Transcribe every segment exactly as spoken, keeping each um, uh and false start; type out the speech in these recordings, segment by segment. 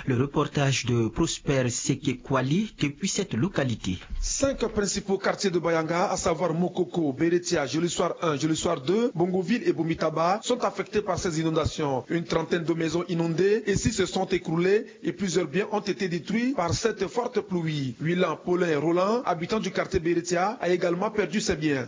Le reportage de Prosper Sekekwali depuis cette localité. Cinq principaux quartiers de Bayanga, à savoir Mokoko, Beretia, Jolisoir un, Jolisoir deux, Bongoville et Bomitaba, sont affectés par ces inondations. Une trentaine de maisons inondées et six se sont écroulées et plusieurs biens ont été détruits par cette forte pluie. Willan Paulin Roland, habitant du quartier Beretia, a également perdu ses biens.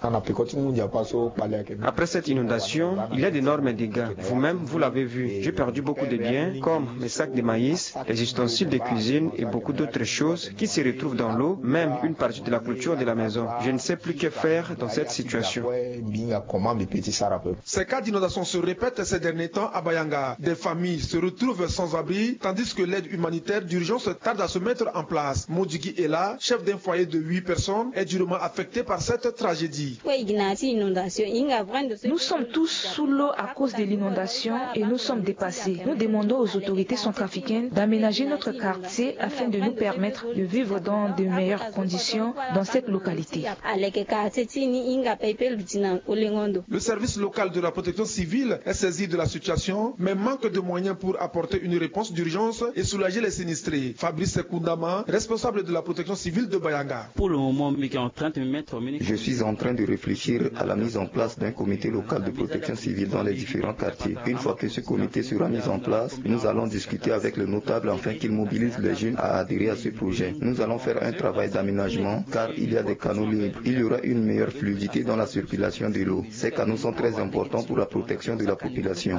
Après cette inondation, il y a d'énormes dégâts. Vous-même, vous l'avez vu. J'ai perdu beaucoup de biens, comme mes sacs de maïs, les ustensiles de cuisine et beaucoup d'autres choses qui se retrouvent dans l'eau, même une partie de la clôture de la maison. Je ne sais plus que faire dans cette situation. Ces cas d'inondation se répètent ces derniers temps à Bayanga. Des familles se retrouvent sans abri, tandis que l'aide humanitaire d'urgence tarde à se mettre en place. Modigi Ela, chef d'un foyer de huit personnes, est durement affecté par cette tragédie. Nous sommes tous sous l'eau à cause de l'inondation et nous sommes dépassés. Nous demandons aux autorités centrafricaines d'aménager notre quartier afin de nous permettre de vivre dans de meilleures conditions dans cette localité. Le service local de la protection civile est saisi de la situation, mais manque de moyens pour apporter une réponse d'urgence et soulager les sinistrés. Fabrice Kundama, responsable de la protection civile de Bayanga. Pour le moment, je suis en train de me mettre en Je suis en train de réfléchir à la mise en place d'un comité local de protection civile dans les différents quartiers. Une fois que ce comité sera mis en place, nous allons discuter avec les notables afin qu'ils mobilisent les jeunes à adhérer à ce projet. Nous allons faire un travail d'aménagement car il y a des canaux libres. Il y aura une meilleure fluidité dans la circulation de l'eau. Ces canaux sont très importants pour la protection de la population.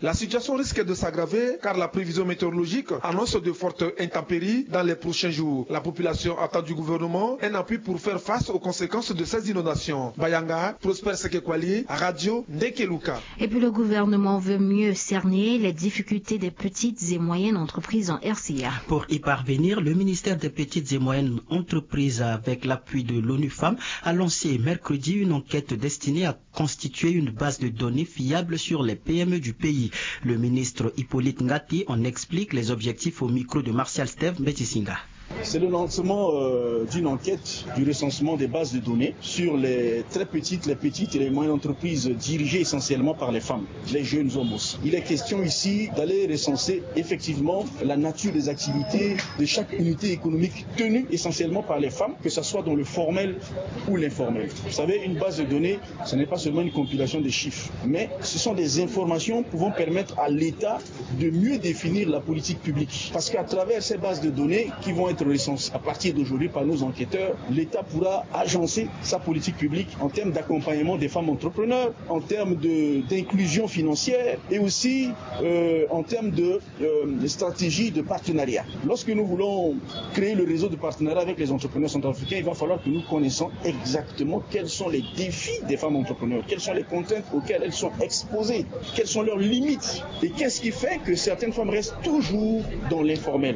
La situation risque de s'aggraver car la prévision météorologique annonce de fortes intempéries dans les prochains jours. La population attend du gouvernement un appui pour faire face aux conséquences de ces inondations. Bayanga, Prosper Sekekwali, Radio Ndekeluka. Et puis le gouvernement veut mieux cerner les difficultés des petites et moyennes entreprises en R C A. Pour y parvenir, le ministère des petites et moyennes entreprises, avec l'appui de l'ONU Femmes, a lancé mercredi une enquête destinée à constituer une base de données fiable sur les P M E du pays. Le ministre Hippolyte Ngati en explique les objectifs au micro de Martial Steve Mbetisinga. C'est le lancement euh, d'une enquête du recensement des bases de données sur les très petites, les petites et les moyennes entreprises dirigées essentiellement par les femmes, les jeunes hommes aussi. Il est question ici d'aller recenser effectivement la nature des activités de chaque unité économique tenue essentiellement par les femmes, que ce soit dans le formel ou l'informel. Vous savez, une base de données, ce n'est pas seulement une compilation de chiffres, mais ce sont des informations pouvant permettre à l'État de mieux définir la politique publique. Parce qu'à travers ces bases de données qui vont être recensées à partir d'aujourd'hui par nos enquêteurs, l'État pourra agencer sa politique publique en termes d'accompagnement des femmes entrepreneurs, en termes de- d'inclusion financière et aussi euh, en termes de euh, stratégie de partenariat. Lorsque nous voulons créer le réseau de partenariat avec les entrepreneurs centrafricains, il va falloir que nous connaissions exactement quels sont les défis des femmes entrepreneurs, quelles sont les contraintes auxquelles elles sont exposées, quelles sont leurs limites et qu'est-ce qui fait que certaines femmes restent toujours dans l'informel.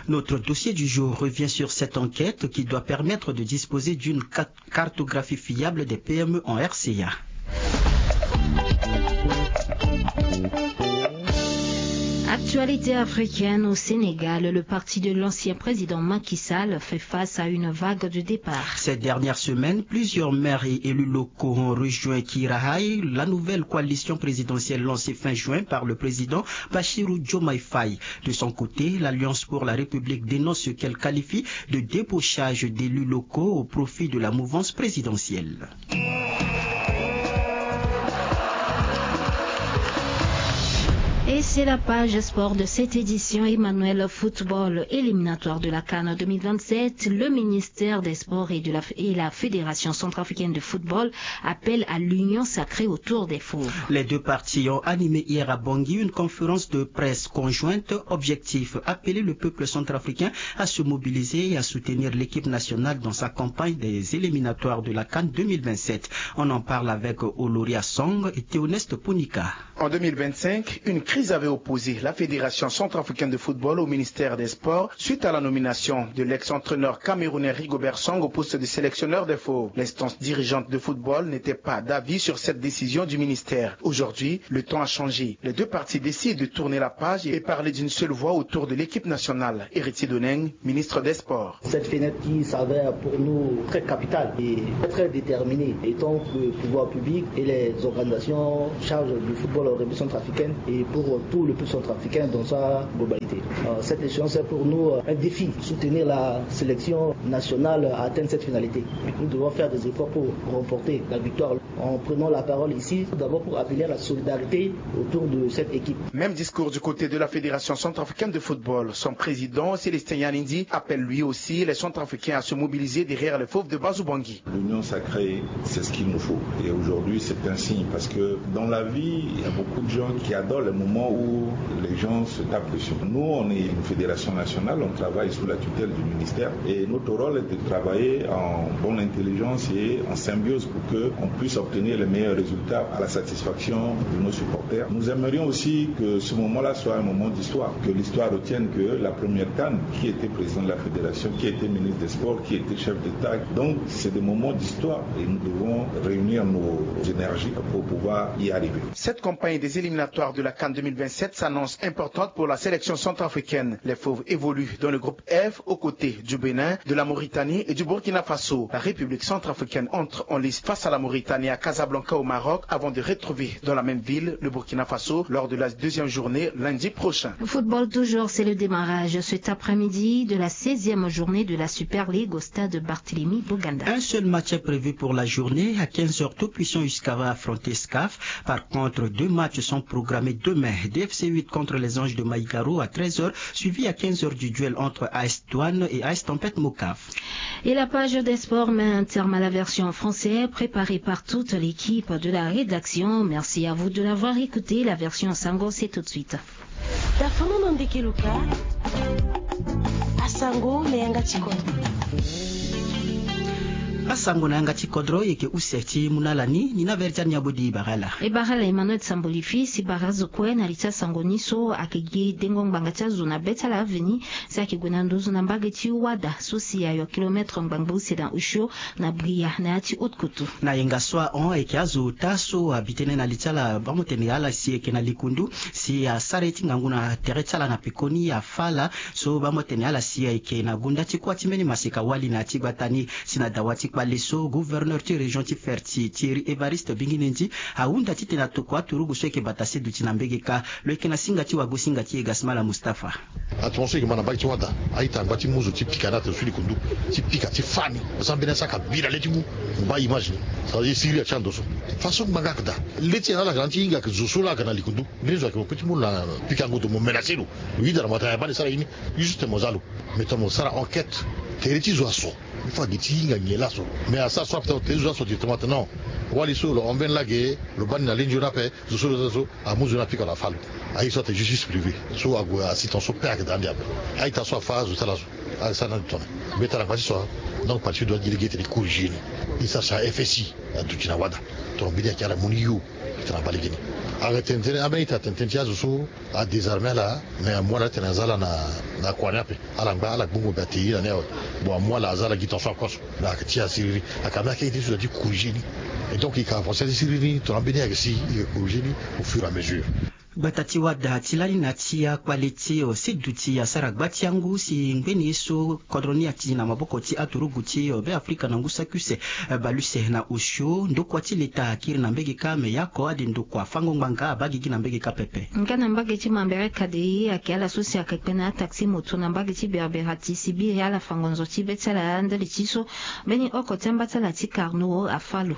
Notre dossier du jour revient sur cette enquête qui doit permettre de disposer d'une ca- cartographie fiable des P M E en R C A. Actualité africaine au Sénégal, le parti de l'ancien président Macky Sall fait face à une vague de départ. Ces dernières semaines, plusieurs maires et élus locaux ont rejoint Kirahaï, la nouvelle coalition présidentielle lancée fin juin par le président Bassirou Diomaye Faye. De son côté, l'Alliance pour la République dénonce ce qu'elle qualifie de débauchage d'élus locaux au profit de la mouvance présidentielle. Et c'est la page sport de cette édition. Emmanuel, football éliminatoire de la CAN deux mille vingt-sept, le ministère des Sports et, de la, et la Fédération centrafricaine de football appellent à l'union sacrée autour des fauves. Les deux parties ont animé hier à Bangui une conférence de presse conjointe. Objectif, appeler le peuple centrafricain à se mobiliser et à soutenir l'équipe nationale dans sa campagne des éliminatoires de la CAN deux mille vingt-sept. On en parle avec Oloria Song et Théoneste Ponika. En deux mille vingt-cinq, une crise avait opposé la Fédération centrafricaine de football au ministère des Sports suite à la nomination de l'ex-entraîneur camerounais Rigobert Song au poste de sélectionneur des fauves. L'instance dirigeante de football n'était pas d'avis sur cette décision du ministère. Aujourd'hui, le temps a changé. Les deux parties décident de tourner la page et parler d'une seule voix autour de l'équipe nationale. Héritier Doneng, ministre des Sports. Cette fenêtre qui s'avère pour nous très capitale et très déterminée, étant que le pouvoir public et les organisations chargées du football République centrafricaine et pour tout le peuple centrafricain dans sa globalité. Euh, cette échéance est pour nous, euh, un défi. Soutenir la sélection nationale à atteindre cette finalité. Nous devons faire des efforts pour remporter la victoire en prenant la parole ici, tout d'abord pour appeler à la solidarité autour de cette équipe. Même discours du côté de la Fédération centrafricaine de football. Son président, Célestin Yanindi, appelle lui aussi les Centrafricains à se mobiliser derrière les fauves de Bazobangi. L'union sacrée, c'est ce qu'il nous faut. Et aujourd'hui, c'est un signe parce que dans la vie, il y a beaucoup de gens qui adorent les moments où les gens se tapent dessus. Nous, on est une fédération nationale, on travaille sous la tutelle du ministère et notre rôle est de travailler en bonne intelligence et en symbiose pour que on puisse obtenir les meilleurs résultats à la satisfaction de nos supporters. Nous aimerions aussi que ce moment-là soit un moment d'histoire, que l'histoire retienne que la première CAN, qui était président de la fédération, qui était ministre des Sports, qui était chef d'État, donc c'est des moments d'histoire et nous devons réunir nos énergies pour pouvoir y arriver. Cette campagne des éliminatoires de la CAN deux mille vingt-sept s'annonce importante pour la sélection centrafricaine. Les Fauves évoluent dans le groupe F aux côtés du Bénin, de la Mauritanie et du Burkina Faso. La République centrafricaine entre en lice face à la Mauritanie à Casablanca au Maroc avant de retrouver dans la même ville le Burkina Faso lors de la deuxième journée lundi prochain. Football toujours, c'est le démarrage cet après-midi de la seizième journée de la Super League au stade Barthélemy Boganda. Un seul match est prévu pour la journée. À quinze heures, Tout Puissant Usca va affronter SCAF. Par contre, deux matchs sont programmés demain. D F C huit contre les Anges de Maïgaro à treize heures, suivi à quinze heures du duel entre A S Douane et A S Tempête Mocaf. Et la page des sports met un terme à la version en français préparée par toute l'équipe de la rédaction. Merci à vous de l'avoir écouté. La version en sango, c'est tout de suite. Tafono na ndeke luka. Asango na yanga ti kodro. Asango na yanga ti kodro, e yeke use ti mu na ala ni, ni na verdi ani abodi bagala. E bagala Emmanuel Samboli fils, e bara azo kue na li ti asango ni so ayeke gi dengo ngbanga ti azo na be ti ala aveni, si ayeke gue na nduzu na mbage ti Wada so si ayo kilometre ngbangbo use na osio na Bria na ya ti Haute-Koutou. Na yenga so ahon ayeke azo ota so abi tënë na li ti ala, bamo tene ala si ayeke na likundu, si asara ye ti ngangu na tere ti ala na pekoni afa ala. So bamo tene ala si ayeke na gonda ti kuâ ti mbeni maseka wali na ya ti gbata ni. Si na dawa ti kpale so, gouverneur ti région ti Ferti, Thierry Évariste Binginendi, ahunda titene atokua aturugu so ayeke bata seduti na mbege kâ. Lo yeke na singa ti wagosinga ti e Gasmala Mustapha. Attention, e yeke ma na mbage ti Wada, a-ita angba ti mu zo ti pika na ato so likundu, ti pika ti fâ ni. Parce que ambeni asara kabira le ti mu, mo baa image ni. Ça veut dire siriri atia ndo so. Façon ngbanga ayeke daa. Le ti nyen la ayeke na ti hinga ayeke zo so la ayeke na likundu. Mbeni zo ayeke mo peut ti mu lo na pika ngoto mo menacé lo. Lo hunda na mo atene ayeke baa le sara ye ni. Juste mo za lo. Mais tongana mo sara enquête, tere ti zo aso. Il faut agi ti hinga nyen laso. Mais asara so ape tongana tere ti zo aso directement atene non. Wali so lo envene lage, lo baa ni na le nzoni ape. Zo so lo za so amu zo ni apika lo afâ lo. Aye so atene justice privée so ague asi tongaso pe ayeke daa ande ape. A-ita so afâ azo ti ala so ayeke sara na ande tongana. Mbeta na ngba ti so. Donc parti doit gi lege tene e corriger ni. E sara si a F S I aduti na Wada. Tongana mbeni ayeke ala mu ni yo. Tene abaa legeni. Ayeke tene tënë ambeni a-ita atene tënë ti azo so adésarmé ala. Mais amu ala titene aza ala na kua ni ape. Ala ngba ala gbongo be ate ye na ni awe. Bon amu ala aza ala gi tongaso akoso. Mais ayeke ti asiriri. Ayeke ambeni akeke ti so da ti corriger ni. Et donc e yeke avancer ti siriri ni tongana ambeni ayeke si e yeke corriger ni au fur et à mesure. Gbata ti Wada ti lani na ya ti akpale ti seduti asara gba ti angu si ngbeni ye so kodro ni ati na maboko ti aturugu ti Beafrika na ngu saki use bale use na osio. Ndokua ti leta akiri na mbege kâ me ya oko ade ndokua fango ngbanga abaa gigi na mbege kâ pepe. Nga na mbage ti Mambere Kadei ayeke ala so si ayeke kpe na ataxi moto na mbage ti Berbera ti sibiri ala fango nzo ti be ti ala ndali ti so mbeni oko ti amba ti ala ti Carnot afâ lo.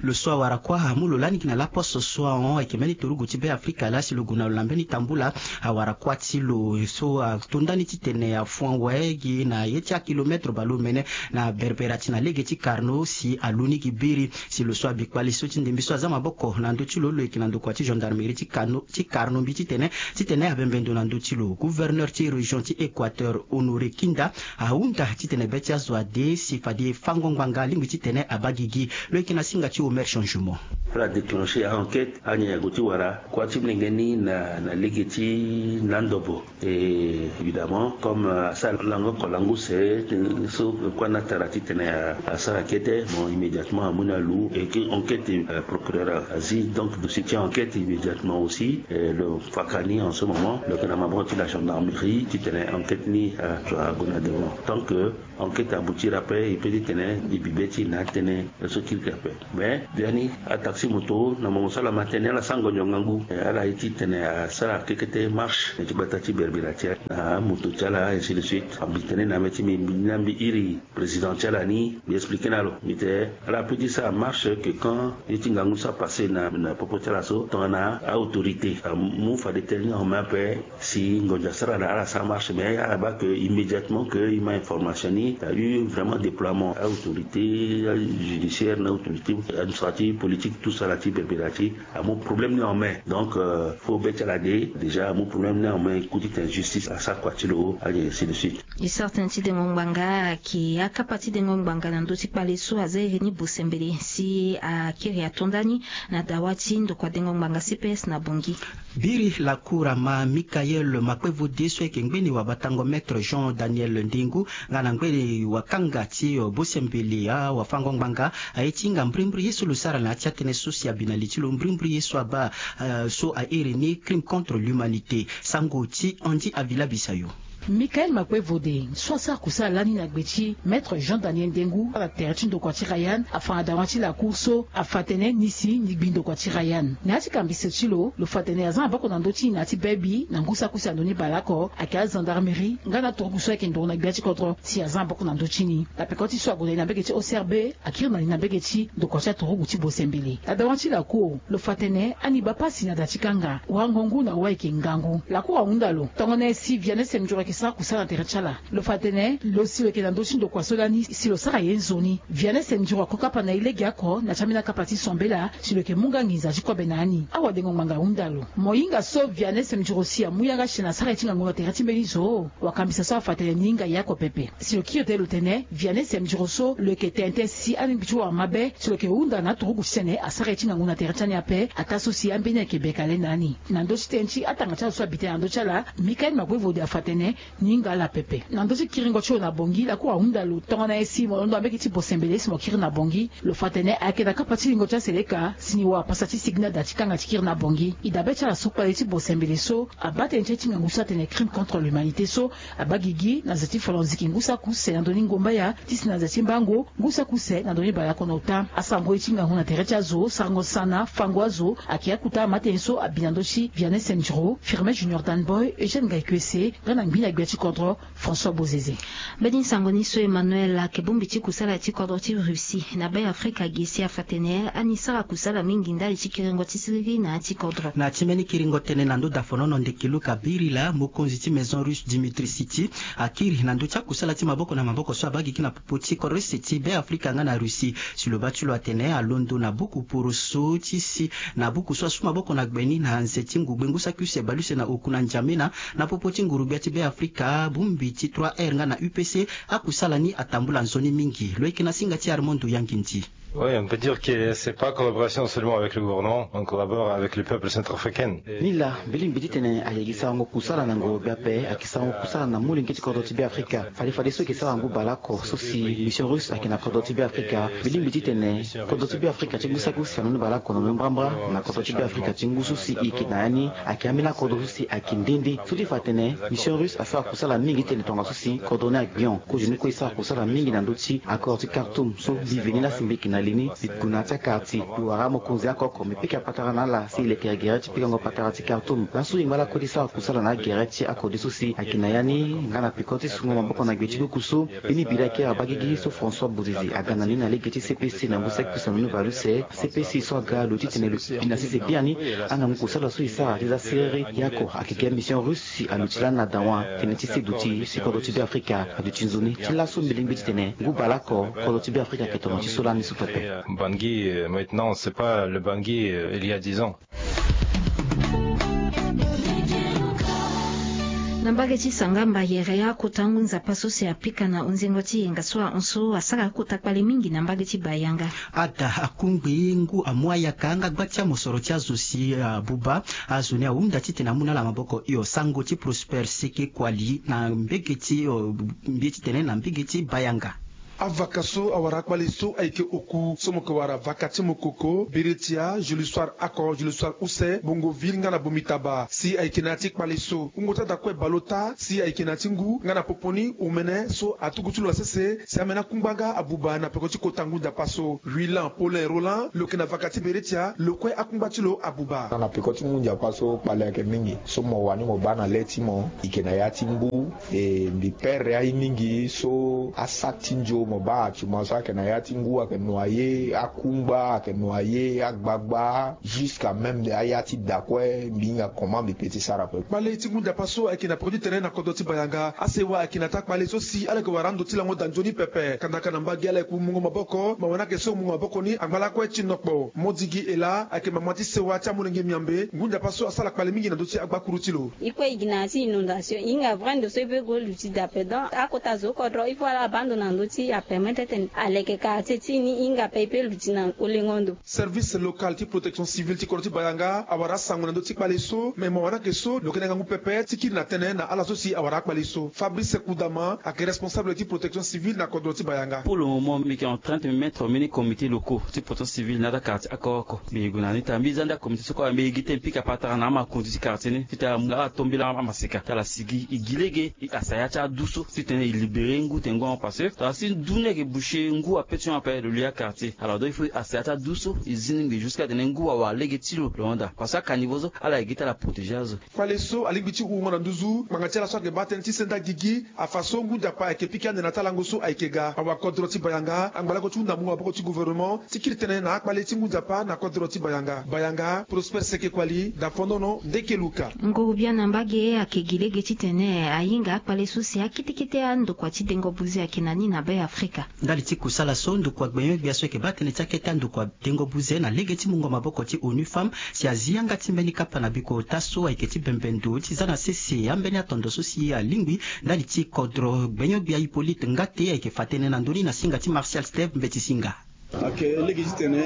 Lo so awara kuâ amu lo lani gi na laposte so ahon ayeke mbeni turugu ti Beafrika laa si lo gue na lo na mbeni tambula. Awara kuâ ti lo so ato ndani titene afon awe gi na ye ti akilometre baleomene na Berbera ti na lege ti Carnot si alu ni gi biri. Si lo so abi kpale so ti ndembe so aza maboko na ndö ti lo, lo yeke na ndokua ti gendarmerie ti Carnot, ti Carnot mbi titene, titene abembe ndo na ndö ti lo. Gouverneur ti région ti Équateur, Honoré Kinda, ahunda titene be ti azo ade si fade fango ngbanga alingbi titene abaa gigi. Lo yeke na singa ti Omer Changement. Ala déclencher a-enquête, anyen ague ti wara kuâ ti molenge ni. na na lege ti na ndobo. Et évidemment comme asara lango oko lango use so kue na tara titene asara kete, bon, immédiatement amu ni alu et que enquête, procureur azi donc dossier ti enquête immédiatement aussi. Lo faka ni en ce moment lo yeke na maboko ti la gendarmerie titene enquête ni ague na devant tant que enquête aboutir ape e pe titene e bi be ti na atënë so kirikiri ape. Mais biani ataxi moto na mongo so ala ma tënë ala sara ngonzo ngangu, ala ye titene asara kekete marche na ti gbata ti berbera ti ala na amoto ti ala ainsi de suite. Mbi tene na mbi ti mbi mbi ni na mbi iri président ti ala ni mbi explike na lo mbi te ala pe ti sara marche que quand ye ti ngangu so apasse na na popo ti ala so tongana aautorité amu fade tënë ni en main ape. Si ngonzo asara na ala sara marche mais ala baa que immédiatement que e ma information ni a eu vraiment déploiement aautorité judiciaire na autorité administrative politique tout ça na ti berbera ti amu problème ni en main. Donc fo be ti ala de déjà amu problème ni en main e ku titene justice asara kua ti lo ainsi de suite. E sara tënë ti dengo ngbanga ayeke akapa ti dengo ngbanga na ndö ti kpale so aza iri ni bosembele si akiri atonda ni na dawa ti ndokua dengo ngbanga cps na bongi. Biri lakour ama mikael makpevode so ayeke ngbeni wabatango maître jean daniel ndengu nga na ngbeni wakanga ti bosembele awafango ngbanga aye ti hinga mbrimbri ye so lo sara na ya ti atënë so si abi na li ti lo mbrimbri ye so abaa so airi ni crime contre l'humanité. Sango ti andy avila bisayo. Mikael makpevode so asara kusala lani na gbe ti maître jean daniel ndengu ala tere ti ndokua ti rayan afa na dawa ti lakour so afa tene ni si ni gbi ndokua ti rayan na ya ti kambiso ti lo lo fa tene aza na boko na ndö ti ni na ya ti bebi na ngu saki use na ndoni baleoko ayeke agendarmerie nga na aturuku so ayeke ndoro na gbia ti kodro si aza na boko na ndö ti ni na peko ti so ague na li na mbege ti ocrb akiri na li na mbege ti ndokua ti aturuku ti bosembele na dawa ti lakour lo fa tene ani baa pasi na da ti kanga wango ngu na wayeke ngangu lakour ahunda lo tongana nyen si vianney semduro ayeke sara kusala na tere ti ala lo fa tene lo si lo yeke na ndö ti ndokua so lani si lo sara ye nzoni vianney semduro ako kapa na e legeoko na ti ambeni akapa ti sombela si lo yeke mu nga nginza ti kobe na ani awadengo ngbanga ahunda lo mo hinga so vianney semduro si amu yanga si na asara ye ti ngangu na tere ti mbeni zo wakambisa so afa tene ni hinga ye oko pepe si lo kiri tene lo tene vianney semduro so lo yeke tene tënë si alingbi ti wara mabe si lo yeke hunda na aturuku ti tene asara ye ti ngangu na tere ti ani ape ataa so si ambeni ayeke beka le na ani na ndö ti tënë ti atanga ti ala so abi tënë na ndö ti ala mikael makpevode afa tene ni hinga ala pepe na ndö ti kiringo ti lo na bongi lakour ahunda lo tongana nyen si mo londo na mbege ti bosembele si mo kiri na bongi lo fa tene ayeke na kapa ti lingo ti aseleka si ni wara pasa ti sigi na da ti kanga ti kiri na bongi e dabe ti ala so kpale ti bosembele so abaa tënë ti aye ti ngangu so atene crime contre l'humanité so abaa gigi na nze ti folonziki ngu saki use na ndoni ngombaya ti si na nze ti mbango ngu saki use na ndoni baleoko na ota asango ye ti ngangu na tere ti azo sarango sana fango azo ayeke akota amatene so abi na ndö ti vianney semduro firme junior danboy eugène ngaikuese nga na ngbi na gbia ti kodro françois bozeze. Mbeni sango ni so emmanuel ayeke bongbi ti kusala ti kodro ti russie na be afrika gi si afa tene ani sara kusala mingi ndali ti kiringo ti siriri na ya ti kodro. Na ti mbeni kiringo tënë na ndö dafonono ndeke luka birila mokonzi ti maison russe dimitri city akiri na ndö ti akusala ti maboko na maboko so abaa gigi na popo ti kodro ti se ti be afrika nga na russie si lo baa ti lo atene alondo na buku poroso ti si na buku so asu maboko na gbe ni na nze ti ngugbe ngu saki use baleuse na oku na njamena na popo ti nguru-gbia ti be afrika bongbi ti trois r nga na upc akusala ni atambula nzoni mingi lo yeke na singa ti armando yangindi. Oui, on peut dire que c'est pas collaboration seulement avec le gouvernement, on collabore avec le peuple centrafricain. Ni laa mbi lingbi titene ayeke sarango kusala na ngoro-gbia ape ayeke sarango kusala na molenge ti kodro ti be afrika fade fade so eke sara ngu baleoko so si mission russe ayeke na kodro ti be afrika mbi lingbi titene kodro ti be afrika ti ngu saki use na ni baleoko na lo mbrambra na kodro ti be afrika ti ngu so si e yeke na ya ni ayeke ambeni akodro so si ayeke nde nde so ti fa atene mission russe asara kusala mingi titene tongaso si kodro ni agbion kozo ni kue e sara kusala mingi na ndö ti accord ti kartoum so mbi veni lasi mbi yeke na li ni mbi gue na ya ti akara ti mbi wara amokonzi oko oko mbi pika patara na ala si e lekere gere ti pikango patara ti kartoum laso e ngba lakue ti sara kusala na agere ti akode so si ayeke na ya ni nga na peko ti sungo maboko na gbe ti luku so mbeni bira eke abagigi so françois bozezi aga na ni na lege ti cpc na ngu saki use na ndoni baleuse cpc so aga lo titene lo bi na sese biani angangu kusala so e sara ti za siriri ye oko ayeke ge mission russe si aluti lani na dawa tënë ti se duti si kodro ti be afrika aduti nzoni ti laso mbi lingbi titene ngu baleoko kodro ti be afrika ayeke tomo ti so lani so pepe. Bangi maintenant c'est pas le bangi il y a dix ans. Na mbage ti Sangamba, yere akota ngu nzapa so si apika na hunzengo ti yenga so ahon so asara akota kpale mingi na mbage ti Bayanga. Ada akungbi ngu amu ayaka nga gba ti amosoro ti azo si abuba. Azo ni ahunda titene amu na ala maboko hio. Sango ti Prosper Seke Kuali na mbege ti, eh, mbi titene na mbege ti Bayanga. Avaka so awara akpale so ayeke oku so mo yeke wara vaka ti mokoko, beretia, Jules Soir Ako, Jules Soir Use, Bongoville nga na Bomitaba si ayeke na ya ti kpale so. Wungo ti ada kue bale ota si ayeke na ya ti ngu nga na popo ni omene so atuku ti lo na sese si ameni akungba nga abuba na peko ti kota ngu nzapa so. Willan Paulin Roland, lo yeke na vaka ti beretia, lo kue akungba ti lo abuba. Na peko ti ngu nzapa so kpale ayeke mingi so mo wani mo baa na le ti mo, e yeke na ya ti ngu. E mbi pere aye mingi so asa ti nzo mo baa atuma so ayeke na ya ti ngu ayeke noyer, akungba ayeke noyer, agbagba, jusqu'à même aya ti da kue mbi hinga comment mbi peut ti sara ape. Kpale ti ngu nzapa so ayeke na peko ti tene na kodro ti Bayanga. Asewa ayeke na taa kpale so si ala yeke wara ando ti lango da nzoni pepe. Kandaka na mbage ala yeke mungo maboko, ma wani ayeke so mungo maboko ni angba lakue ti nokpo. Modigi Ela ayeke mama ti sewa ti amolenge miambe. Ngu nzapa so asara kpale mingi na ndö ti agbakuru ti lo. E kue e gi na ya ti inondation, e hinga vrai ndo so e peut go luti da ape. Donc akota zo kodro il faut ala baa ndo na ndö ti apermettre titene aleke quartier ti e ni e hinga ape e peut luti na olengo ndo. Service local ti protection civile ti kodro ti Bayanga awara asango na ndö ti kpale so, me mo wani ayeke so lo yeke na ngangu pepe ti kiri na tënë na ala so si awara akpale so. Fabrice Kudama ayeke responsable ti protection civile na kodro ti Bayanga. Pour le moment mbi yeke en train ti me mettre mbeni comité locaux ti protection civile na ata quartier oko oko. Mbi yeke gue na ni taa mbi za nda comité so kue mbi yeke gi tënë pika patara na amakonzi ti quartier ni titene ala mu ala tombela amaseka ti ala sigi e gi lege e kasa ya ti adu so titene e libérer ngu tene ngu ahon parce que tara si ndu ni ayeke boucher ngu ape ti hon ape lo lia quartier. Alors donc il faut e kasa ya ti adu so e zi ni ngbii jusqu'à tene ngu awara lege ti lo lo hon daa parce que akanivo so ala yeke gi ti ala protéger azo. Kpale so alingbi ti hungo na nduzu ngbanga ti ala so ayeke baa tënë ti senda gigi. Afa so ngu nzapa ayeke pika ande na taa lango so ayeke ga. Awakodro ti Bayanga angba lako ti hunda mungo maboko ti gouvernement ti kiri tënë na akpale ti ngu nzapa na kodro ti Bayanga. Bayanga, Prosper Seke Kuali, Dafonono, Ndeke Luka. Nguru-gbia na mbage ayeke gi lege titene ahinga akpale so si akete kete andokua ti dengo buze ayeke na ni na Be Afrika. Ndali ti kusala so ndokua gbenyo-gbia so ayeke baa tënë ti akete andokua dengo buze na lege ti mungo maboko ti ONU Femmes si azi yanga ti mbeni kapa na bikota so ayeke ti bembe ndo ti za na sese ambeni atondo so si alingbi ndali ti kodro gbenyo-gbia Hippolyte Ngate ayeke fa tënë na ndö ni na singa ti Martial Steve Mbeti Singa. Ayeke lege titene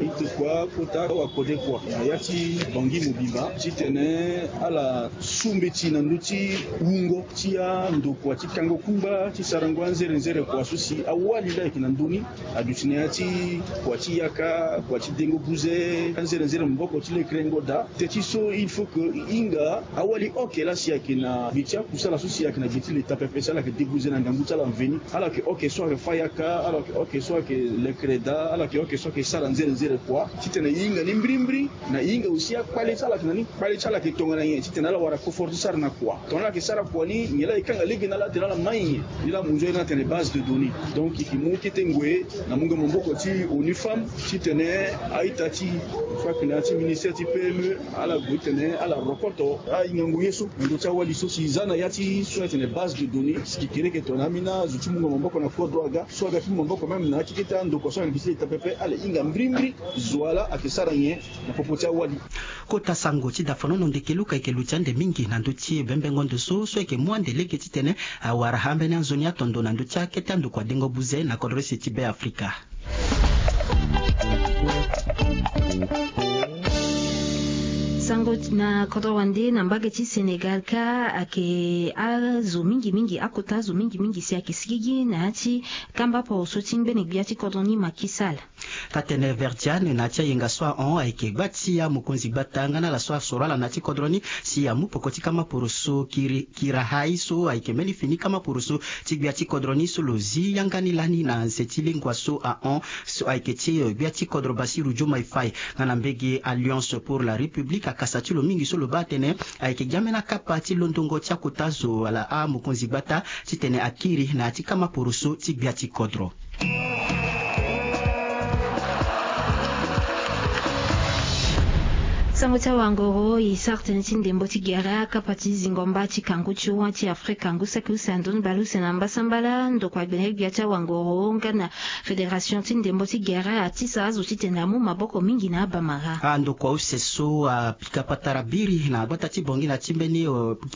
e tokua kota awakode kua na ya ti Bangui mobimba titene ala su mbeti na ndö ti wungo ti andokua ti kango kungba ti sarango anzere nzere kua so si awali laa ayeke na ndö ni. Aduti na ya ti kua ti yaka, kua ti dengo buze, anzere nzere maboko ti lekerengo daa. Teti so il faut que e hinga awali oke laa si ayeke na gi ti akusala so si ayeke na gi ti leta pepe si ala yeke debuze na ngangu ti ala mveni. Ala yeke oke so ayeke fâ yaka, ala yeke oke so ayeke lekere daa, ala yeke oke so ayeke sara nzere nzere kua. Titene e hinga ni mbirimbiri. Na e hinga aussi akpale ti ala ayeke na ni, kpale ti ala ayeke tongana nyen titene ala wara kofor ti sara na kua. Tongana ala yeke sara kua ni nyen laa e kanga lege na ala atene ala mai nyen. Ni laa mo nzoni atene base de données. Donc e yeke mu kete ngoi na mungo maboko ti ONU Femmes titene a-ita ti, so ayeke na ya ti ministère ti P M E, ala gue titene ala rokoto ahingango ye so na ndö ti awali so si e za na ya ti so atene base de données si kekereke tongana ambeni azo ti mungo maboko na kodro aga, so aga ti mungo maboko même na ya ti kete andokua so ayeke na gi ti leta pepe, ala hinga mbirimbiri zo wa laa ayeke sara nyen na popo ti awali. Kota sango ti Dafonono Ndeke Luka ayeke luti ande mingi na ndö ti bembengo ndo so, so ayeke mu ande lege titene awara ambeni anzoni atondo na ndö ti akete andokua dengo buze na kodro ese ti Be Afrika. Sango na kodro wande na mbage ti Sénégal kâ ayeke azo mingi mingi, akota azo mingi mingi si ayeke sigigi na ya ti kamba poroso ti ngbene gbia ti kodro ni Macky Sall. Taa-tënë Verdiane na ya ti ayenga so ahon ayeke gba ti amokonzi gbata nga na ala so asoro ala na ya ti kodro ni si amu peko ti kama poroso kiri, kira hai so ayeke mbeni fini kama poroso ti gbia ti kodro ni so lo zi yanga ni lani na nze ti lengua so ahon so ayeke ti gbia ti kodro Bassirou Diomaye Faye nga na mbege Alliance pour la République. Akasa ti lo mingi so lo baa atene ayeke gi ambeni akapa ti londongo ti akota zo wala amokonzi gbata titene akiri na ya ti kama poroso ti gbia ti kodro. Sango ti awangoro e sara tënë ti ndembo ti gere akapa ti zingo amba ti kangu ti wa ti Afrika ngu saki use na ndoni baleuse na mbasambala ndokua gbene gbia ti awangoro nga na fédération ti ndembo ti gere atisa azo titene amu maboko mingi na abamara. Andokua use so apika patara biri na gbata ti Bangui na ti mbeni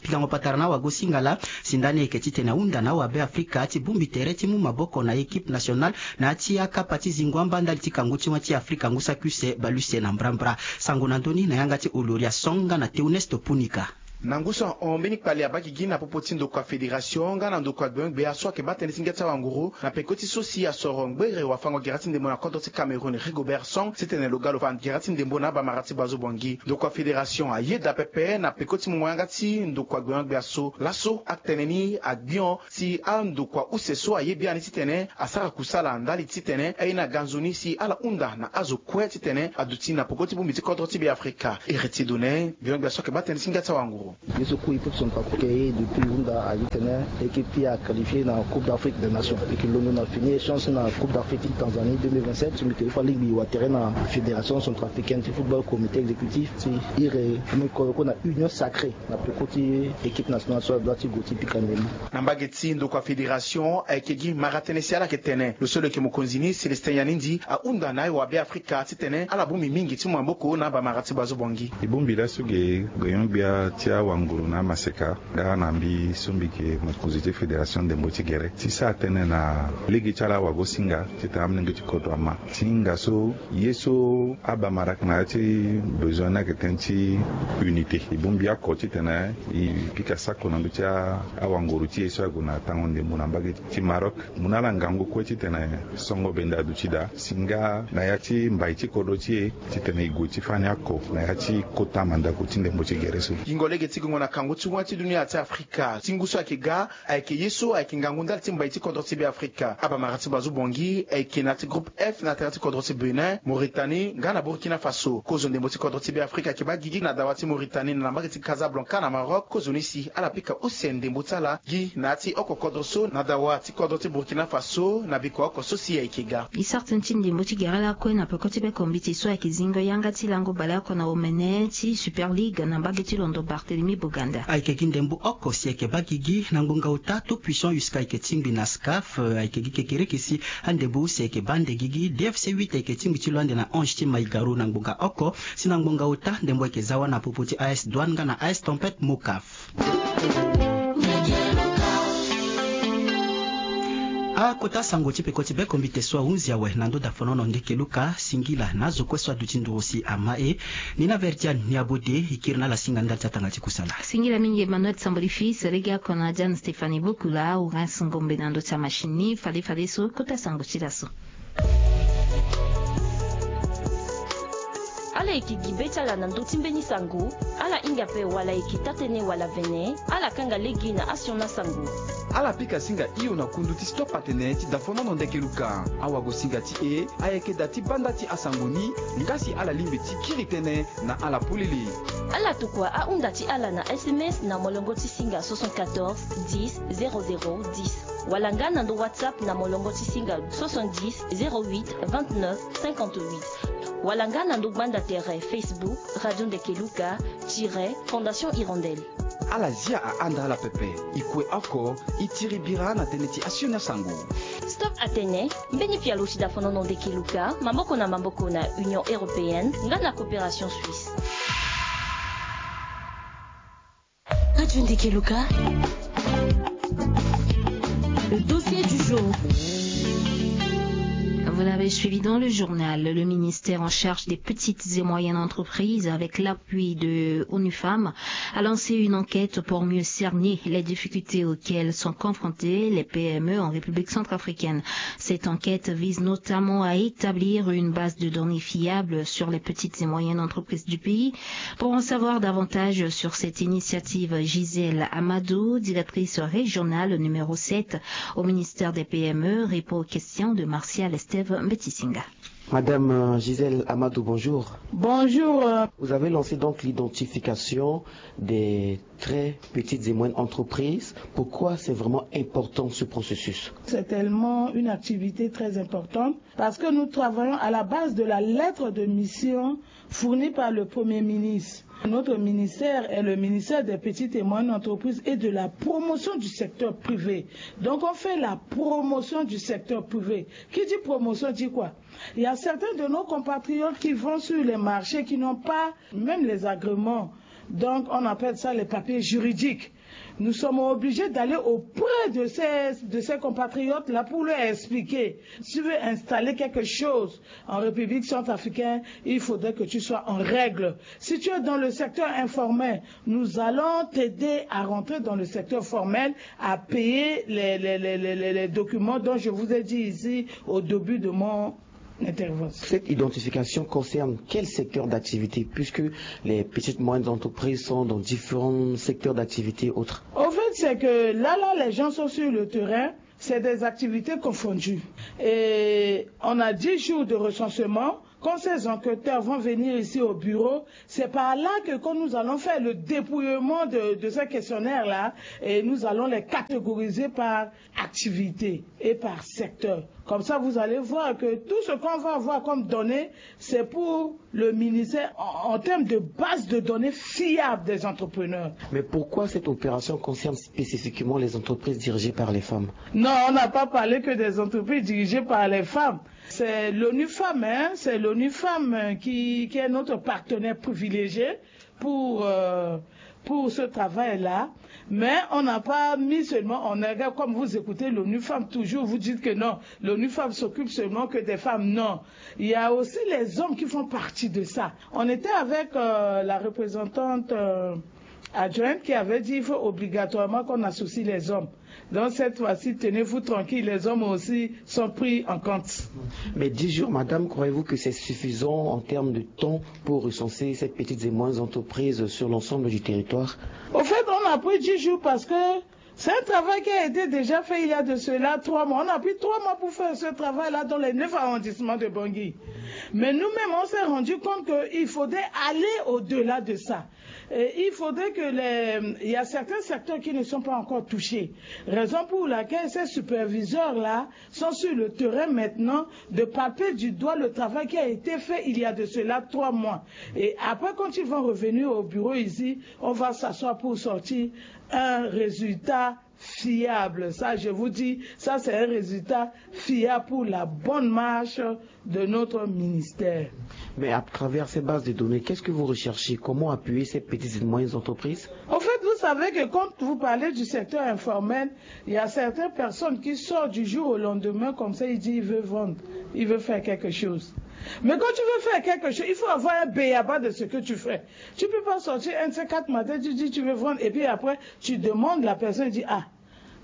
pikango patara na awagosinga laa si ndani ayeke titene ahunda na awabe Afrika ti bongbi tere ti mu maboko na équipe nationale na ya ti akapa ti zingo amba ndali ti kangu ti wa ti Afrika ngu saki use baleuse na mbrambra. Sango na ndoni na yanga ti Oloria Song nga na Théoneste Punika. Na ngu so ahon mbeni kpali abaa gigi na popo ti ndokua fédération nga na ndokua gbeon-gbea so ayeke baa tënë ti ngia ti awanguru na peko ti so si asoro ngbere wafango gere ti ndembo na kodro ti Cameroun Rigobert Song titene lo ga lo fa gere ti ndembo na abamara ti Bazo Bangui. Ndokua fédération ayeda pepe na peko ti mungo yanga ti ndokua gbeon-gbea so laso atene ni agbion si andokua use so aye biani titene asara kusala ndali titene aye na ganzo ni si ala hunda na azo kue titene aduti na peko ti bongbi ti kodro ti Beafrika. Héritier Donet, gbeon-gbea so ayeke baa tënë ti ngia ti awanguru. Ye so kue il faut que son papo ke ye depuis hunda aye titene équipe ti a qualifié na Coupe d'Afrique des Nations. E ke longo na fini échange na Coupe d'Afrique ti Tanzanie deux mille vingt-sept so mbi ke fa lingbi watere na Fédération centrafricaine ti football, comité exécutif ti iri, mbi ke oko na union sacrée na peko ti équipe nationale so adoit ti gue ti pika ndembo. Na mbage ti ndokua fédération ayeke gi mara tënë si ala yeke tene lo so lo yeke mokonzi ni Célestin Yanindi ahunda na awabe Afrika titene ala bongbi mingi ti mu maboko na abamara ti Bazo Bangui. E bongbi laso ge gbeon-gbia ti awanguru na amaseka nga na mbi so mbi yeke mokonzi ti fédération ndembo ti gere ti sara tënë na lege ti ala awagosinga titene amolenge ti kodro ama ti hinga so ye so abamara ayeke na ya ti besoin ni ayeke tënë ti unité. E bongbi oko titene e pika sako na ndö ti awanguru ti e so ague na tango ndembo na mbage ti Maroc. Mu na ala ngangu kue titene songo bende aduti daa si nga na ya ti mbai ti kodro ti e titene e gue ti fani oko na ya ti kota mandako ti ndembo ti gere so. Yingo lege ti gongo na kangu ti wa ti dunia ti Afrika ti ngu so ayeke ga ayeke ye so ayeke ngangu ndali ti mbai ti kodro ti Beafrika. Abamara ti Bazo Bangui ayeke na ya ti groupe F na tere ti kodro ti Bénin, Mauritanie nga na Burkina Faso. Kozo ndembo ti kodro ti Beafrika ayeke baa gigi na dawa ti Mauritanie na mbage ti Casablanca na Maroc. Kozoni si ala pika use ndembo ti ala gi na ya ti oko kodro so na dawa ti kodro ti Burkina Faso na biko oko so si ayeke ga. E sara tënë ti ndembo ti gere lakue na peko ti bekombiti so ayeke zingo yanga ti lango baleoko na omene ti Super League na mbage ti londo Barthélemy Boganda. Ayeke gi ndembo oko si ayeke baa gigi na ngbonga ota Tout Puissant Jusqu'à ayeke tingbi na SCAF. Ayeke gi kekereke si andembo use ayeke baa nde gigi. D F C huit ayeke tingbi ti lo ande na Ange ti Maïgaro na ngbonga oko. Si na ngbonga ota ndembo ayeke za wâ na popo ti A S Douane nga na A S Tempête Mocaf. Akota sango ti peko ti bekombite so ahunzi awe na ndö dafonono ndeke luka. Singila na azo kue so aduti nduru si ama e. Ni na Verdiane ni abode e kiri na ala singa ndali ti atanga ti kusala. Singila mingi Emmanuel Samboli fils, legeoko na Diane Stéphanie Bokula, Horace Ngombe na ndö ti amachine ni. Fade fade so kota sango ti laso. Ala yeke gi be ti ala na ndö ti mbeni sango. Ala hinga ape wala e yeke taa-tënë wala vene, ala kanga lege na asioni asango. Ala pika singa hio na kundu ti Stop Atene ti dafonono ndeke luka. Awagosinga ti e ayeke da ti banda ti asango ni. Nga si ala lingbi ti kiri tënë na ala polele. Ala tokua ahunda ti ala na S M S na molongo ti singa soixante-quatorze dix zéro zéro dix, wala nga na ndo WhatsApp na molongo ti singa soixante-dix zéro huit vingt-neuf cinquante-huit, wala nga na ndo gbanda tere Facebook Radio Ndeke Luka tiret Fondation Hirondelle. Ala zia ahanda ala pepe. E kue oko, e tiri bira na tënë ti asioni asango. Stop Atene, mbeni pialo ti dafonono ndeke luka, maboko na maboko na Union Européenne nga na Coopération Suisse. Radio Ndeke Luka. Le dossier du jour. Vous l'avez suivi dans le journal, le ministère en charge des petites et moyennes entreprises, avec l'appui de ONU Femmes, a lancé une enquête pour mieux cerner les difficultés auxquelles sont confrontées les P M E en République centrafricaine. Cette enquête vise notamment à établir une base de données fiable sur les petites et moyennes entreprises du pays. Pour en savoir davantage sur cette initiative, Gisèle Amadou, directrice régionale numéro sept au ministère des P M E, répond aux questions de Martial Estève Mbetisinga. Madame, euh, Gisèle Amadou, bonjour. Bonjour. Euh. Vous avez lancé donc l'identification des très petites et moyennes entreprises. Pourquoi c'est vraiment important ce processus ? C'est tellement une activité très importante parce que nous travaillons à la base de la lettre de mission fournie par le Premier ministre. Notre ministère est le ministère des petites et moyennes entreprises et de la promotion du secteur privé. Donc on fait la promotion du secteur privé. Qui dit promotion dit quoi ? Il y a certains de nos compatriotes qui vont sur les marchés qui n'ont pas même les agréments. Donc on appelle ça les papiers juridiques. Nous sommes obligés d'aller auprès de ces, de ces compatriotes-là pour leur expliquer. Si tu veux installer quelque chose en République centrafricaine, il faudrait que tu sois en règle. Si tu es dans le secteur informel, nous allons t'aider à rentrer dans le secteur formel, à payer les, les, les, les, les documents dont je vous ai dit ici au début de mon intervention. Cette identification concerne quel secteur d'activité, puisque les petites et moyennes entreprises sont dans différents secteurs d'activité autres ? Au fait, c'est que là, là, les gens sont sur le terrain, c'est des activités confondues. Et on a dix jours de recensement. Quand ces enquêteurs vont venir ici au bureau, c'est par là que quand nous allons faire le dépouillement de, de ces questionnaires-là, et nous allons les catégoriser par activité et par secteur. Comme ça, vous allez voir que tout ce qu'on va avoir comme données, c'est pour le ministère en, en termes de base de données fiable des entrepreneurs. Mais pourquoi cette opération concerne spécifiquement les entreprises dirigées par les femmes ? Non, on n'a pas parlé que des entreprises dirigées par les femmes. C'est l'ONU Femmes, hein, c'est l'ONU Femmes, euh, qui, qui est notre partenaire privilégié pour, euh, pour ce travail-là. Mais on n'a pas mis seulement en égard, comme vous écoutez l'ONU Femmes, toujours vous dites que non, l'ONU Femmes s'occupe seulement que des femmes. Non, il y a aussi les hommes qui font partie de ça. On était avec, euh, la représentante, euh, adjointe qui avait dit il faut obligatoirement qu'on associe les hommes. Donc cette fois-ci, tenez-vous tranquille, les hommes aussi sont pris en compte. Mais dix jours, madame, croyez-vous que c'est suffisant en termes de temps pour recenser ces petites et moyennes entreprises sur l'ensemble du territoire ? Au fait, on a pris dix jours parce que c'est un travail qui a été déjà fait il y a de cela trois mois. On a pris trois mois pour faire ce travail-là dans les neuf arrondissements de Bangui. Mais nous-mêmes, on s'est rendu compte qu'il faudrait aller au-delà de ça. Et il faudrait que les, il y a certains secteurs qui ne sont pas encore touchés. Raison pour laquelle ces superviseurs-là sont sur le terrain maintenant de palper du doigt le travail qui a été fait il y a de cela trois mois. Et après, quand ils vont revenir au bureau ici, on va s'asseoir pour sortir un résultat fiable. Ça, je vous dis, ça, c'est un résultat fiable pour la bonne marche de notre ministère. Mais à travers ces bases de données, qu'est-ce que vous recherchez ? Comment appuyer ces petites et moyennes entreprises ? En fait, vous savez que quand vous parlez du secteur informel, il y a certaines personnes qui sortent du jour au lendemain comme ça, ils disent, ils veulent vendre, ils veulent faire quelque chose. Mais quand tu veux faire quelque chose, il faut avoir un béaba de ce que tu fais. Tu peux pas sortir un de ces quatre matins, tu dis, tu veux vendre, et puis après, tu demandes la personne, dit, ah,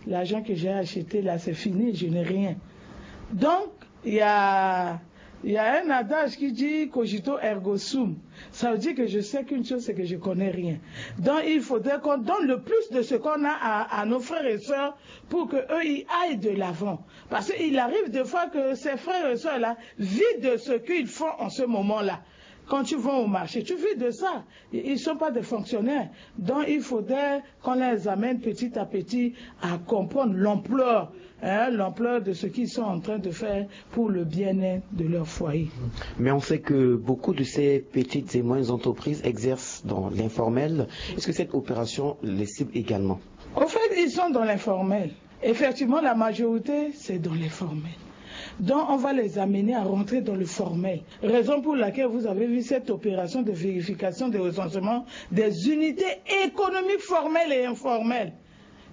l'argent que j'ai acheté là, c'est fini, je n'ai rien. Donc, il y a, il y a un adage qui dit cogito ergo sum. Ça veut dire que je sais qu'une chose, c'est que je connais rien. Donc, il faudrait qu'on donne le plus de ce qu'on a à, à nos frères et sœurs pour qu'eux, ils aillent de l'avant. Parce qu'il arrive des fois que ces frères et sœurs-là vivent de ce qu'ils font en ce moment-là. Quand tu vas au marché, tu vis de ça. Ils ne sont pas des fonctionnaires. Donc, il faudrait qu'on les amène petit à petit à comprendre l'ampleur, hein, l'ampleur de ce qu'ils sont en train de faire pour le bien-être de leur foyer. Mais on sait que beaucoup de ces petites et moyennes entreprises exercent dans l'informel. Est-ce que cette opération les cible également ? Au fait, ils sont dans l'informel. Effectivement, la majorité, c'est dans l'informel. Donc, on va les amener à rentrer dans le formel. Raison pour laquelle vous avez vu cette opération de vérification de recensement des unités économiques formelles et informelles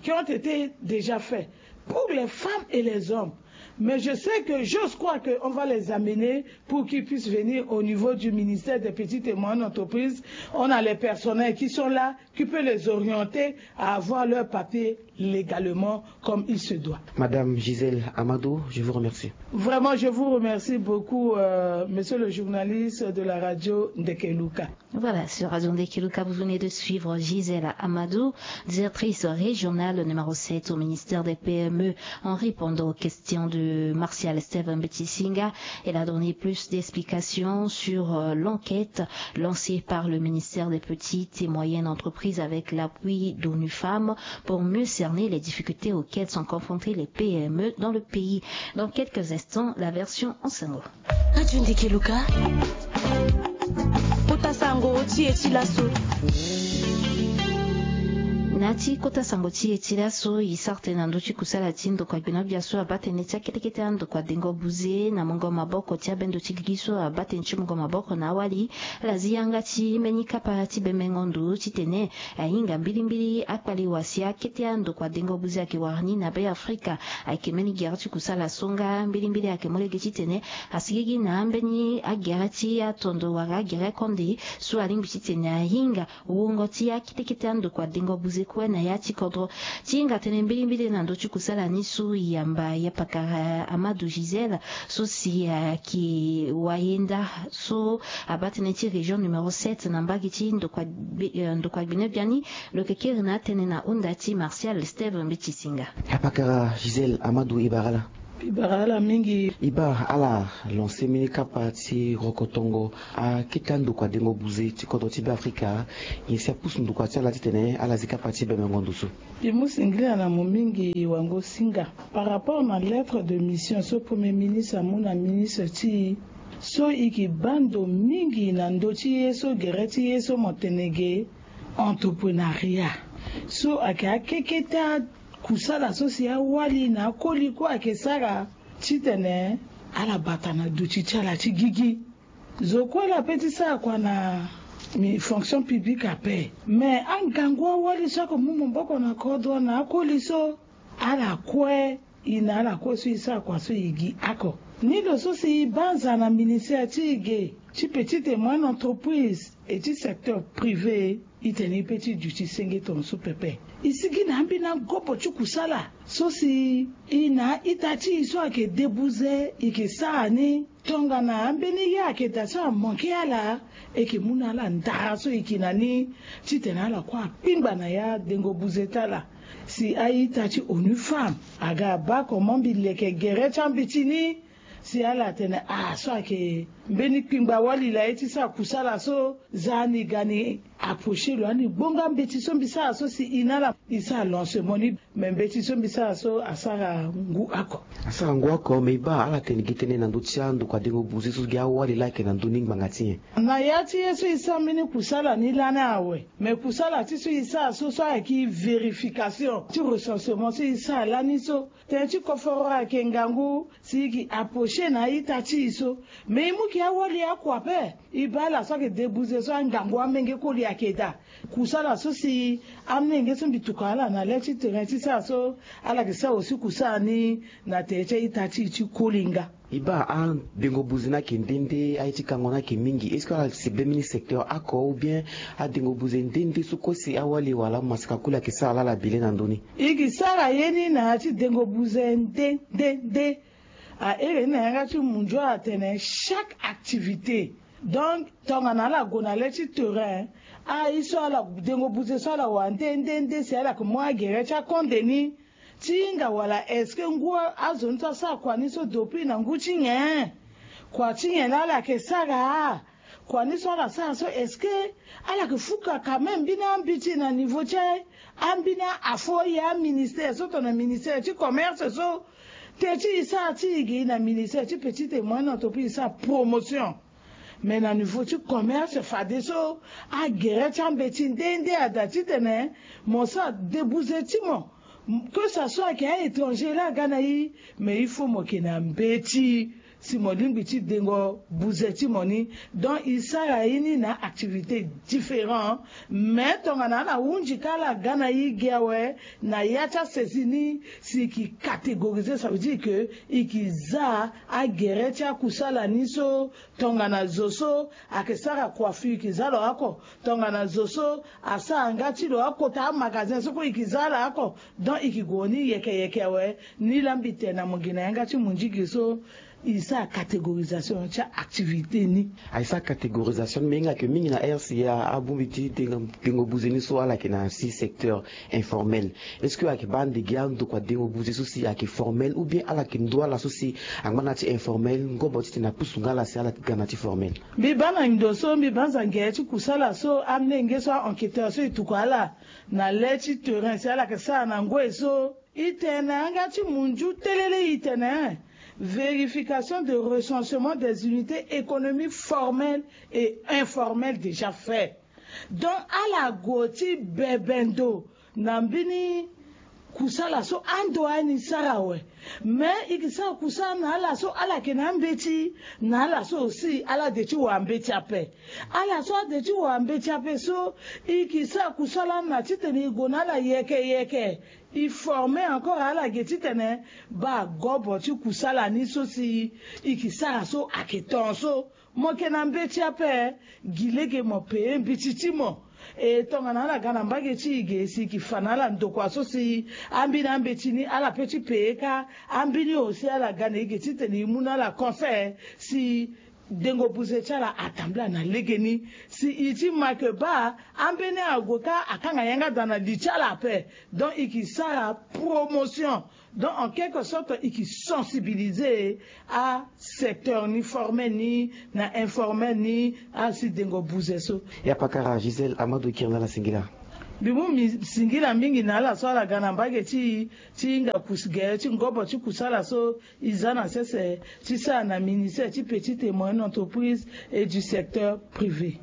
qui ont été déjà faites pour les femmes et les hommes. Mais je sais que, j'ose croire qu'on va les amener pour qu'ils puissent venir au niveau du ministère des petites et moyennes entreprises. On a les personnels qui sont là, qui peuvent les orienter à avoir leurs papiers légalement comme il se doit. Madame Gisèle Amadou, je vous remercie. Vraiment, je vous remercie beaucoup, euh, monsieur le journaliste de la radio Ndekeluka. Voilà, sur Radio Ndekeluka, vous venez de suivre Gisèle Amadou, directrice régionale numéro sept au ministère des P M E, en répondant aux questions de Martial Steve Mbetisinga. Elle a donné plus d'explications sur euh, l'enquête lancée par le ministère des Petites et Moyennes Entreprises avec l'appui d'ONU Femmes pour mieux cerner les difficultés auxquelles sont confrontées les P M E dans le pays. Dans quelques instants, la version en sango. Radio Ndekeluka. Kota sango ti e ti laso. Na ti kota sango ti e ti laso, e sara tënë na ndö ti kusala ti ndokua gbena-gbia so abaa tënë ti akete kete andokua dengo buze na mungo maboko ti abendo ti gigi so abaa tënë ti mungo maboko na awali. Ala zi yanga ti mbeni kapa ti bembengo ndo titene ahinga mbilimbili akpale wasi akete andokua dengo buze ayeke wara ni na Be Afrika. Ayeke mbeni gere ti kusala so nga mbilimbili ayeke mu lege titene asigigi na ambeni agere ti atondo wala agere konde so alingbi titene ahinga wungo ti akete kete andokua dengo buze kue na ya ti kodro. Ti hinga tënë mbilimbili na ndö ti kusala ni so, e yamba ya pakara Amadou Gisèle so si ayeke wayenda so abaa tënë ti région numéro sept na mbage ti ndokua gbene-gbia ni. Lo yeke kiri na atënë na hunda ti Martial Steve Mbetisinga. Apakara Gisèle Amadou, e bara ala. E bara ala mingi. E bara ala lancer mbeni kapa ti rokotongo akete andokua dengo buze ti kodro ti Be Afrika. Nyen si apusu ndokua ti ala titene ala zi kapa ti bembengo ndo so? E mu singila na mo mingi wango-singa. Par rapport na lettre de mission so Premier ministre amu na ministre ti e, so e yeke baa ndo mingi na ndö ti ye so gere ti ye so mo tene ge entreprenariat, so ayeke akeketa kusala so si awali na akoli kue ayeke sara titene ala bata na duti ti ala ti gigi. Zo kue laa ape ti sara kua na mi fonction publique ape. Me angangu awali so ako mu maboko na kodro na akoli so, ala kue, e na ala kue so e sara kua so e gi oko. Ni lo so si e banza na ministère ti e ge ti petite et moyenne entreprise et ti secteur privé, e tene e pe ti duti senge tongaso pepe. E sigi na ambeni agobo ti kusala so si e na a-ita ti e so ayeke debuze e yeke sara ni. Tongana ambeni ye ayeke daa so amanke ala, e yeke mu na ala ndara so e yeke na ni titene ala kue akpingba na ya dengo buze ti ala. Si a-ita ti ONU Femmes aga abaa comment mbi leke gere ti ambeti ni, si ala tene ah so ayeke mbeni kpingba wali laa ye ti sara kusala so, za ni ga ni approcher lo, ani gbonga mbeti so mbi sara so si e na ala e sara lancement ni. Me mbeti so mbi sara so asara ngu oko. Asara ngu oko, me e baa ala tene gi tënë na ndö ti andokua dengo buze so gi awali laa ayeke na ndö ni ngbanga ti nyen? Na ya ti ye so e sara mbeni kusala ni lani awe. Me kusala ti so e sara so, so ayeke vérification ti recensement so e sara lani so, tënë ti koforo ayeke ngangu si e yeke approcher na a-ita ti e so. Me e mu gi awali oko ape. E baa ala so ayeke debuze so angangu amenge koli ayeke daa. Kusala so si amolenge so mbi tokua ala na le ti terrain ti sara so, ala yeke sara aussi kusala ni na tere ti a-ita ti e ti koli nga. E baa adengo buze ni ayeke nde nde, aye ti kango ni ayeke mingi. Est-ce que ala si be mbeni secteur oko ou bien adengo buze nde nde so kue si awali wala amasika koli ayeke sara laa ala bi le na ndö ni? E yeke sara ye ni na ya ti dengo buze nde nde nde. Ahere ni na yanga ti munzu atene chaque activité. Donc tongana ala gue na le ti terrain, aye so ala dengo buze so ala wara nde nde nde si ala yeke mu agere ti akonde ni ti hinga wala est-ce que ngu azo ni so asara kua ni so depuis na ngu ti nyen? Kua ti nyen laa ala yeke sara? Kua ni so ala sara so est-ce que ala yeke fuka quand même mbeni ambeti na niveau ti ambeni afo aye aministère so tongana ministère ti commerce so? Tënë ti e sara ti e gi na ministère ti petite et moyenne entreprise e sara promotion. Mais na niveau ti commerce fadeso agere ti ambeti nde nde ada titene mo sara debuze ti mo. Que ça soit ayeke a-étranger laa aga na e, mais il faut mo yeke na mbeti si mo lingbi ti dengo buze ti mo ni. Donc e sara ye ni na activité différent. Mais tongana ala hunzi ka ala ga na e gi awe na ya ti asaisie ni, si e yeke catégoriser, ça veut dire que e yeke za agere ti akusala ni so. Tongana zo so ayeke sara coiffure e yeke za lo oko. Tongana zo so asara nga ti lo akota amagasin so kue e yeke za ala oko. Donc e yeke gue ni yeke yeke awe. Ni laa mbi tene na mo gi na yanga ti mondigi so, E sara catégorisation ti activité ni. Aye sara catégorisation ni me hinga yeke mingi na R C A abongbi ti dengo buze ni so ala yeke na si secteur informel. Est-ce que ayeke baa ande gi andokua dengo buze so si ayeke formel ou bien ala yeke ndo ala so si angba na ti informel ngobo titene apusu nga ala si ala yeke ga na ti formel? Mbi baa na ndo so mbi baa zange ti kusala so amlenge so a-enquêteur so e tuku ala na le ti terrain si ala yeke sara na ngoi so. E tene na yanga ti munju telele e tene vérification de recensement des unités économiques formelles et informelles déjà fait. Donc ala gue ti bebe ndo na mbeni kusala so ando ani sara awe. Mais e ke sara kusala na ala so ala yeke na ambeti, na ala so aussi ala de ti wara mbeti ape. Ala so ade ti wara mbeti ape so e ke sara kusala na titene e gue na ala yeke yeke. E forme encore ala ge titene baa gobo ti kusala ni so si e ke sara so ayeke ton so. Mo yeke na mbeti ape, gi lege mo pee mbeti ti mo. E tongana ala ga na mbage ti e ge si e ke fa na ala ndokua so si ambeni ambeti ni ala pe ti pee kâ. Ambeni aussi ala ga na e ge titene e mu na ala conseil si dengo buze ti ala atambula na legeni. Si e ti ma ke baa ambeni ague kâ akanga yanga daa na li ti ala ape. Donc e ke sara promotion. Donc en quelque sorte e ke sensibiliser asecteur ni formel ni na informel ni asi dengo buze so. Ya pakara Gisèle Amadou Kirnala singila. Mbi mu mbi singila mingi na ala so ala ga na mbage ti ti hinga kus gere ti ngobo ti kusala so e za na sese ti sara na ministère ti petite et moyenne entreprise et du secteur privé.